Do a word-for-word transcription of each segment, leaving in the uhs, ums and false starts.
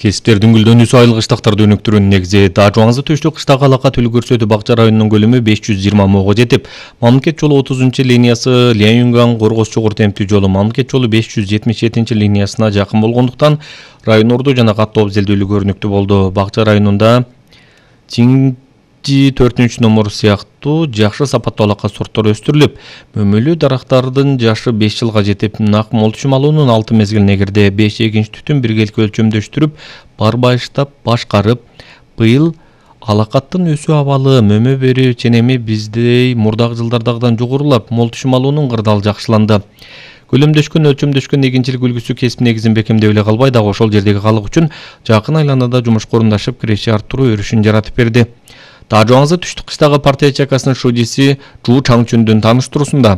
Кесиптердин гүлдөнүүсү айыл кыштактарды өнүктүрүүнүн негизи. Таажубаңызды төштүк кыштагы алакат үлгү көрсөтүү бакча районунун көлөмү беш жүз жыйырма мыңга жетип, мамлекет жолу отузунчу линиясы Лянюнган Коргоз чугур темптүү жолу мамлекет жолу беш жүз жетимиш жетинчи линиясына жакын болгондуктан район орду жана каттоо абзелдүүлүгү көрүнүктүү болду. Бакча районунда төртүнчү номер сыяктуу жакшы сапаттуу алакат сорттор өстүрүлүп, мөмөлүү дарактардын жашы беш жылга жетип, нак молтучум алуунун алты мезгилине кирди. беш экинчи түтүн биргеликке өлчөмдөштүрүп, барбайыштап башкарып, быйыл алакаттын өсүү абалы мөмө берүү ченеми биздей мурдагы жылдардагыдан жогорулап, молтучум алуунун кырдаалы жакшыланды. Көлөмдөшкөн, өлчөмдөшкөн эгинчилик үлгүсү кесип негизин бекемдеп эле калбай, дагы ошол жердеги калк үчүн жакын айланада жумушка орундашып, киреше арттыруу өрүшүн жаратып берди. Таажубаңызды түштүк кыштагы партия чакасынын шудиси Жуу Чаңчүндүн тааныштыруусунда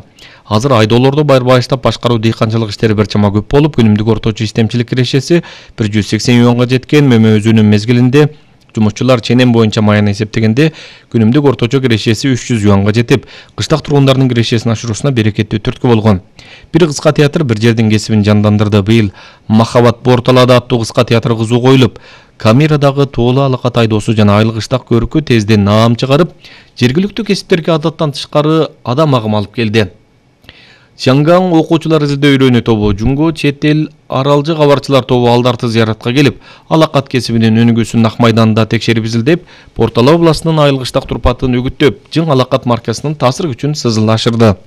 азыр айдоолорду барбайыштап башкаруу дыйканчылык иштери бир чама көп болуп, күнүмдүк орточо истемчилик кирешеси бир жүз сексен юанга жеткен. Мөмө өзүүнүн мезгилинде жумушчулар ченем боюнча маяны эсептегенде күнүмдүк орточо кирешеси үч жүз юанга жетип, кыштак тургундардын кирешесин ашыруусуна берекеттүү түрткү болгон. Бир кыска театр бир жердин кесибин жандандырды. Быйыл Махабат Борталада аттуу кыска театр кызуу коюлуп, Камерадагы тоолу алакат айдоосу жана айыл кыштак көркү тезден наам чыгарып, жергиликтүү кесиптерге адаттан тышкары адам агым алып келди. Чаңгаң окуучулар изилдөө үйрөнүү тобу, Жунго чет эл аралжы кабарчылар тобу алдарты зыяратка келип, алакат кесибинин өнүгүүсүн Ак майданда текшерип изилдеп, Портала областынын айыл кыштак турпатын үгүттөп, Жың алакат маркасынын таасир күчүн сызыл ашырды.